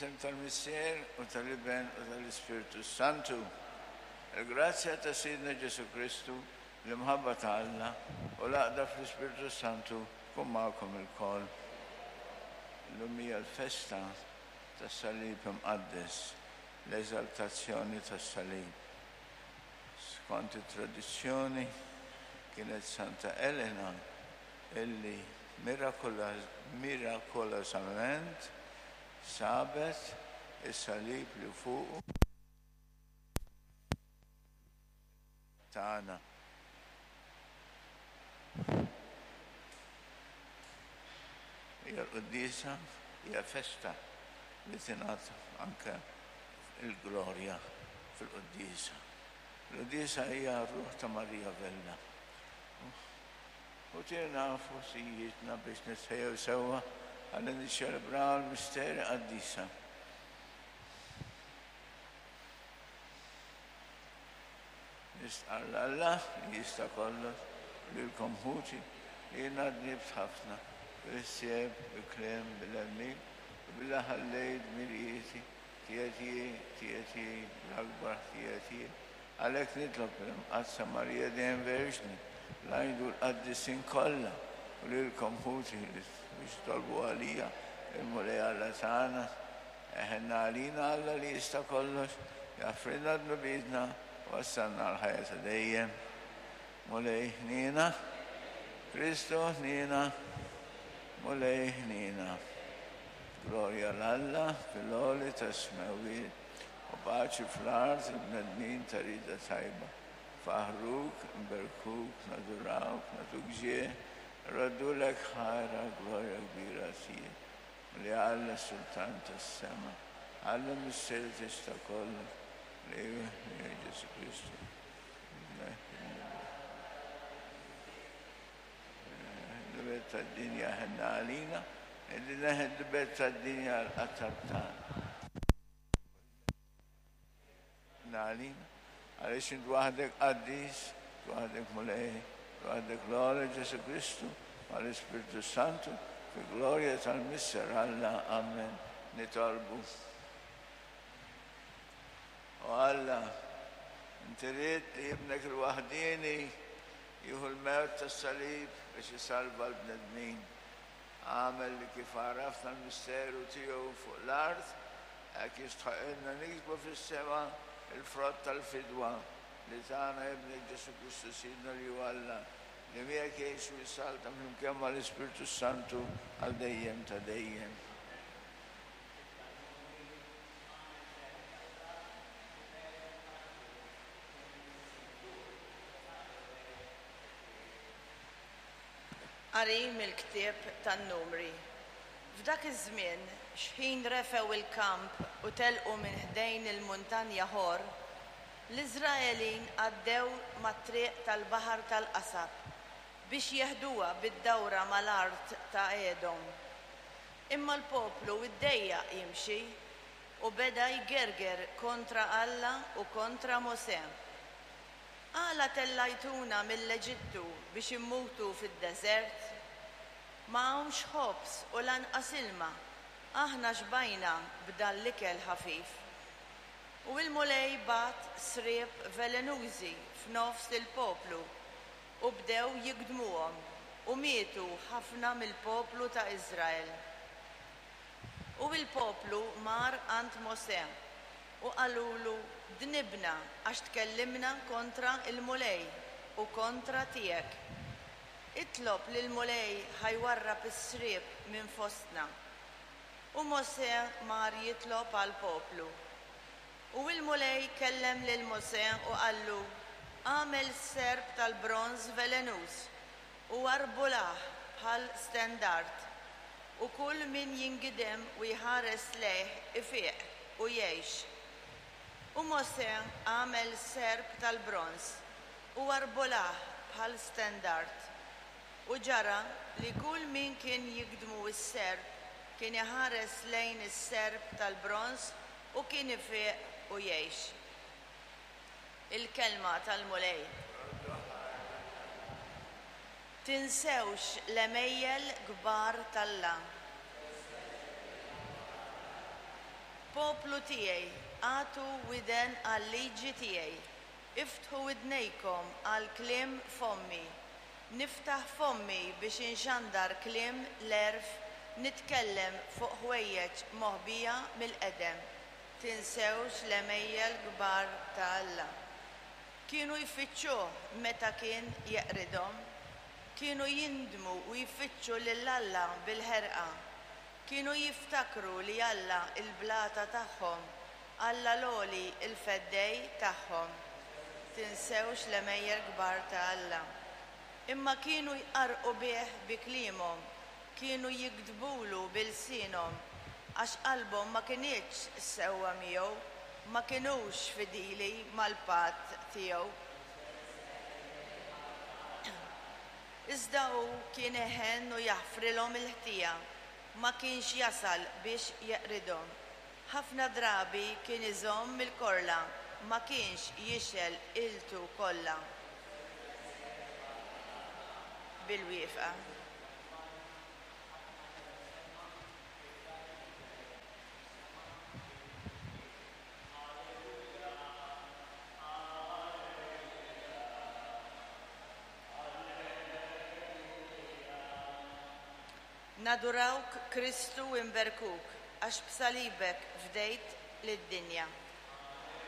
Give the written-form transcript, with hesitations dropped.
Fl-isem tal-Missier u tal-Iben u tal-Ispirtu s-Santu, il-grazzja ta' Sidna Ġesù Kristu, l-imħabba ta' Alla u l-għaqda fl-Ispirtu s-Santu tkun magħkom ilkoll. Illum hija l-festa tas-Salib Imqaddes, l-Eżaltazzjoni tas-Salib. Skont it-tradizzjoni kienet Santa Elena illi mirakolosament sabet is-salib li fuqu tagħna. Hija l-quddiesa, hija festa li tingħad anke il-glorja fil-quddiesa. Il-quddiesa hija r-ruħ ta' Marija Vella. U tina f'wasijietna biex nitħejjew sewwa ħalli niċċelebraw l-misteri qaddisa. Nistqarr 'l Alla li jista' kollox u lilkom ħuti li jiena dnibt ħafna bil-ħsieb, bil-kliem, bil-għemil u billi ħallejt dmirijieti, ħtijiet hi, ħtijiet hi, l-akbar ħtijiet hi. Għalhekk nitlob lill-Imqaddsa Marija dejjem Verġni, l-anġli u l-qaddisin kollha, u lilkom ħuti biex titolbu għalija lill-Mulej Alla tagħna. Eħenna għalina Alla li jista' kollox, jaħfrilna dnubietna u wassalna għall-ħajja ta' dejjem. Mulej ħniena. Kristu ħniena. Mulej ħniena. Glorja 'l Alla fil-għoli tas-smewwiet. U paċi fl-art il-bnedmin ta' rieda tajba. Nfaħħruk, nberkuk, nadurawk, nagħtuk ġieħ, nroddulek ħajr għall-glorja kbira tiegħek. Mulej Alla Sultan tas-sema, Alla Missier li tista' kollox, Mulej Mulej Ġesù Kristu. L-belt tad-dinja ħenna għalina, illi neħed l-belt tad-dinja l-qatar tagħna. Għalina, għaliex int waħdek qaddis, waħdek Mulej, waħdek l-Għoli Ġesù Kristu, mal-Ispirtu Santu, fi glorja tal-Missier Alla. Amen. Nitolbu. O Alla, inti ridt li ibnek il-waħdieni jieħu l-mewt tas-salib biex isalva l-bnedmin. Agħmel li kif għarafna l-misteru tiegħu fuq l-art, hekk jistħoqqilna niksbu fis-sema l-frott tal-fidwa li tana Ibnek Ġesù Kristu Sidna li hu Alla, li miegħek jgħix u jsaltan flimkien mal-Ispirtu s-Santu għal dejjem ta' dejjem. Qari mill-ktieb tan-Numri. F'dak iż-żmien, xħin refgħu l-kamp u telqu minn ħdejn il-muntanja Ħor, l-Iżraelin għaddew mat-triq tal-Baħar tal-Qasab biex jeħduha bid-dawra mal-art ta' Edom. Imma l-poplu ddejjaq jimxi u beda jgerger kontra Alla u kontra Mosè. Għala tellajtuna mill-Eġittu biex immutu fid-deżert? Ma hawnx ħobż u lanqas ilma, aħna xbajna b'dan l-ikel ħafif. U l-Mulej bagħat sriep velenużi f'nofs il-poplu, u bdew jigdmuhom, u mietu ħafna mill-poplu ta' Iżrael. U l-poplu mar għand Mosè, U qalulu, Dnibna, għax tkellimna kontra l-Mulej u kontra tiegħek. Itlob lill-Mulej ħa jwarrab is-sriep minn fostna. U Mosè mar jitlob għall-poplu. U l-Mulej kellem lil Mosè u qallu, Agħmel serp tal-bronż velenuż, u arbulah bħal stendard, u kull min jingidem u jħares lejh ifiq u jgħix. U Mosè għamel serp tal-bronż u arbolah bħal stendard. U ġara li kull min kien jigdmu s-serp kien iħares lejn is-serp tal-bronż u kien ifiq u jgħix. Il-Kelma tal-Mulej. Tinsewx l-għemejjel kbar t'Alla. Poplu tiegħi, agħtu widen għal-liġi tiegħi, iftħu widnejkom għal kliem fommi. Niftaħ fommi biex inxandar kliem l-għerf, nitkellem fuq ħwejjeġ moħbija mill-qedem. Tinsewx l-għemejjel kbar ta' Alla. Kienu jfittxuh meta kien jeqridhom. Kienu jindmu u jfittxu lil Alla bil-ħerqa. Kienu jiftakru li Alla l-blata tagħhom, Alla l-Għoli l-Feddej tagħhom. Tinsewx l-għemejjel kbar ta' Alla. Imma kienu jqarrqu bih bi kliemhom, kienu jigdbulu bi lsienhom, għax qalbhom ma kinitx sewwa miegħu, ma kinux fidili mal-patt tiegħu. Iżda hu kien iħenn u jaħfrilhom il-ħtija, ma kienx jasal biex jeqridhom. Ħafna drabi kien iżomm il-korla, ma kienx jixgħel qiltu kollha. Bil-wieqfa. Nadurawk Kristu u nberkuk, għax b'salibek fdejt lid-dinja.